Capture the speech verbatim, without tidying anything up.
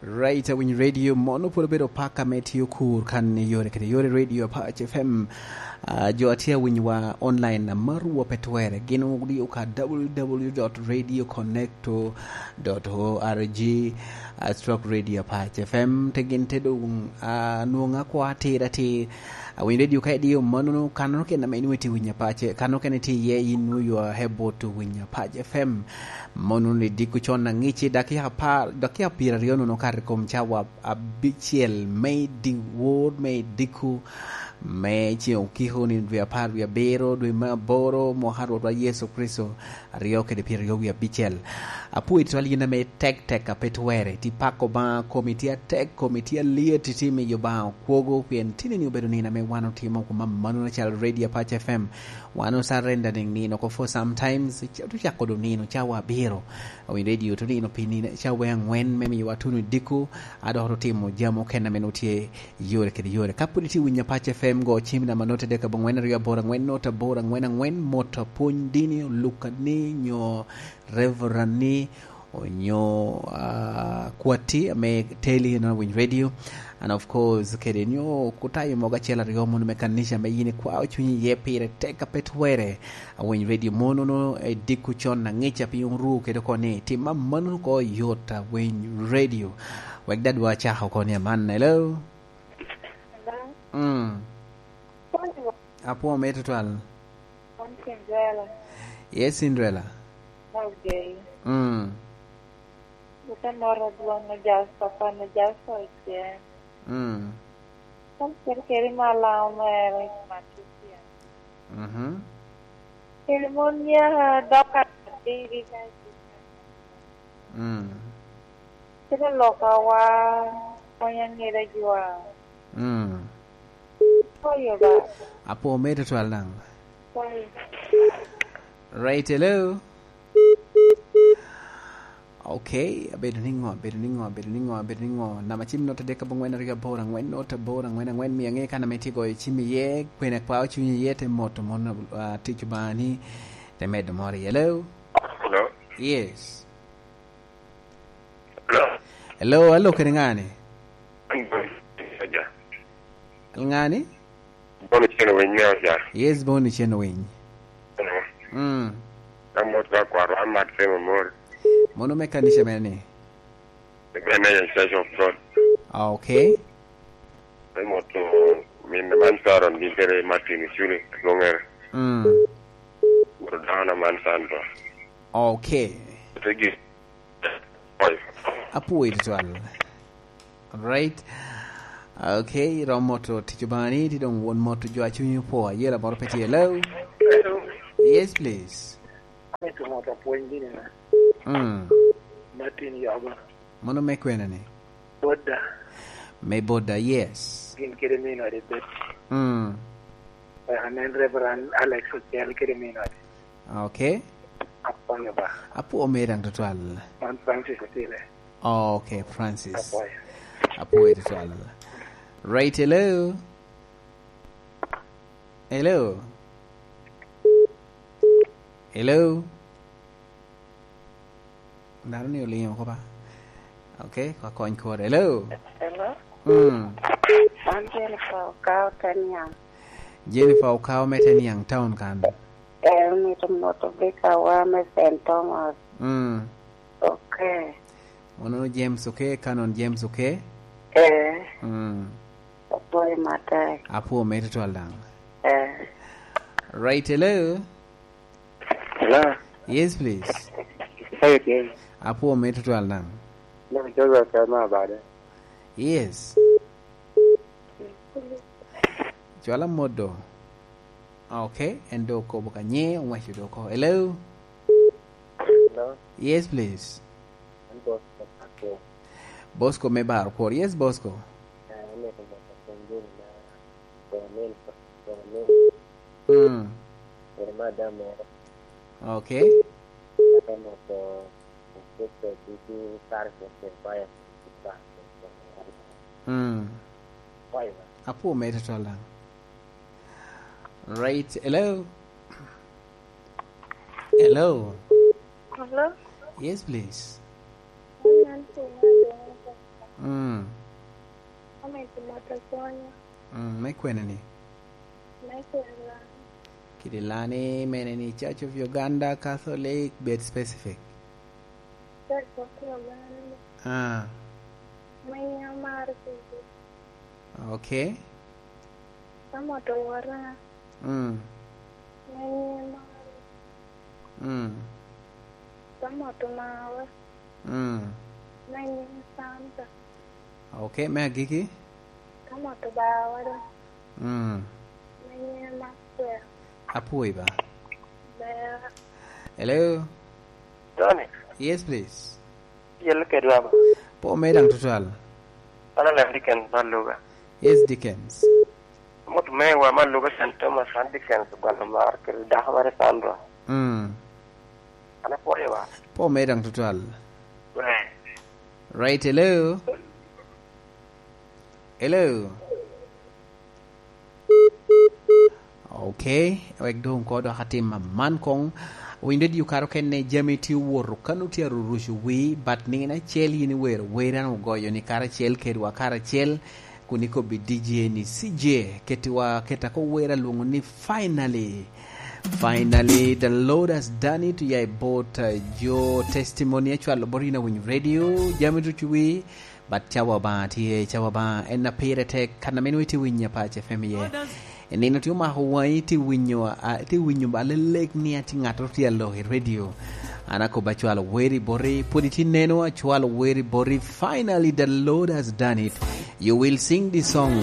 Right, awiny radio mono pwod obedo paka me tio kur kan i yore kede yore radio Apac F M. Ah, jo a tye awinyowa online a marwa pe twerre, gin odio ka w w w dot radio connecto dot o r g, ah, stroke radio Apac F M, te gin te doŋ, ah, nwoŋo akwa atir atir. Awiny radio ka idio mannono, kannono kene ame inwoŋo itye winyo Apac, kannono kene itye iye, in nwoŋo you are able to winyo Apac F M. Mono ni diko con aŋici, dakika apar, dakika pyeraryo nono okato i kom cawa abicel me idi wor me idiko me ceŋ okiko ni dwe apar wie abiro, dwe me aboro, mwaka a Rwotwa Yecu Kricito, aryo kede pyeraryo wie abicel. Apwoyo tutwal yin ame tek tek a pe twerre, ti pako Obaŋa, komi tye atek, komi tye alyet, iti miyo Obaŋa okwogo, pien tinni obedo nino ame wan otimo kuma mannono calo Radio Apac F M. Wan ocarenda niŋ nino oko for sometimes, ca-, tucako do nino cawa abiro. Awiny radio to nino pi nino cawa aŋwen me miyowa tuno diko, a dok otimo jami okene ame nwoŋo tye yore kede yore. Ka pwod itye winyo Apac F M, go cim namba note dek aboŋwen aryo aboro aŋwen note aboro aŋwen aŋwen, mot apwony dini, olukani, nyo reverend-ni, onyo, ah, kwatti ame teli eno awiny radio. And of course, kede nyo kutayo mogo acel aryo mono me kanica ame yin ikwao cunyi iye pire tek a pe twerre. Awiny radio mono no, eh, diko con aŋica pi oru kede oko ni, tim amannono oko yot awiny radio. Wek dadwa acako oko ni aman, hello? Hello? Mm. Apwoo me tutwal. An Cinderella. Yes, Cinderella. Okay. Mm. Ite moro dwon na Jasper, pan na Jasper Ocean. Mm. Kan kere kere ma Lango mere Matusia. Mhm. Kere mon nyaka dok adidi ka i Mm. Kede lokawa, pwony aŋeda jwa. Mm. Oyo ba. Apwoo me tutwal daŋ. Sorry. Right, hello. Okay, abedo niŋo, abedo niŋo, abedo niŋo, abedo niŋo? Namba cim note dek aboŋwen aryo aboro aŋwen note aboro aŋwen aŋwen, miyo aŋe kan ame tye goyo cim iye, kwene kwa ocunyi iye, te moto mon, ah, tic Obaŋa ni, te medo moro iye. Hello? Hello? Yes. Hello? Hello, alo, kede ŋani? An Boni Cen Winy. Ŋani? Boni Cen Winy, ne oja. Yes, Boni Cen Winy. Hello? Mm. Amot ka kwaro, amat Semo Mori. Mono me kanica mene ni? The Great Nation Church of God. Ah, okay. Emoto min man Sharon gi kede Martin Iculi, Lungere. Mm. Moto dano man Sandra. Okay. Thank you. Apwoyo tutwal. Alright. Okay, rom moto tic Obaŋa ni, ti doŋ won moto jo a cunyi opwo, ayela moro pe tye. Hello? Hello. Yes, please. Amito moto apwony gini na. Mm. Martin Yoba. Mono me kwena ni? Boda. Me Boda, yes. Gin kede min ode Betty. Mm. Eh, anen Reverend Alex Ochiel kede min ode. Okay. Apwoyo ba. Apwoo mere daŋ tutwal. Man Francis Otile. Oh, okay, Francis. Apwoyo. Apwoo tutwal. Right, hello. Hello. Hello. Dano ni olingo oko ba. Okay, kwa kony kore. Hello. Hello. Mm. An Jennifer Okao Teniang. Jennifer Okao me Teniang town kan. Eh, mito moto bikawa me Saint Thomas. Mm. Okay. Ono James, okay, Canon James, okay? Eh. Mm. Apwoyo matek. Apwoo me tutwal daŋ. Eh. Right, hello. Hello. Yes, please. How you doing? Apwoo me tutwal daŋ. Look, Joseph Kelma Abade. Yes. Cwala mot do. Okay, en do okobo ka nye, owaco do oko. Hello? Hello? Yes, please. An Bosco Pakwor. Bosco me Bar Kwor. Yes, Bosco. Ah, amito moto pwony dini na Bonin, Bonin. Mm. Jeremiah Damo. Okay. Aka moto Kristo ducu karacel kede Jeremiah. Mm. Apwoo mere tutwal daŋ. Right. Hello? Hello? Hello? Yes, please. An Nancy Mado. Mm. Amito moto konya. Mm, me kwene ni? Me kwene lani. Kidi lani mene ni Church of Uganda Catholic, bed specific. Church of Uganda. Ah. Me amaro kidi. Okay. Amoto wora. Mm. Me amaro. Mm. Amoto mawa. Mm. Me Santa. Okay, me agiki? Amoto bawa da. Mm. Me Maxwell. Apwoyo ba. Ber. Hello? Tony. Yes, please. Yel kedwa ba. Po me dang tutwal. Ana lem Dickens Maluga. Yes, Dickens. Mot me wa Maluga Saint Thomas, an Dickens gwano mar kede dako mere Sandra. Mm. Ana pwoyo wa. Po me dang tutwal. Right. Right, hello? Hello? Okay, wek doŋ ko dok atim aman koŋ. Winy radio karo kene jami tye owoto, kan otye aruruco wi, but nino acel yin iwero wer, an ogoyo ni karacel kedwa karacel, kun ikobbi D J ni C J, ketiwa, keta ko wer alwoŋo ni finally. Finally, the Lord has done it, ya i bot, uh, jo testimony acwalo bot yin awinyo radio, jami ducu wi, but cawa Obaŋa tye, cawa Obaŋa en a pire tek, kan ame nwoŋo itye winyo Apac F M iye. Nino tye omako waŋi, itye winyo, a, itye winyo ba lelek ni atye ŋattoro tye alok i radio. An akobo acwalo weri boti, pwod itye neno acwalo weri boti. Finally, the Lord has done it. You will sing this song.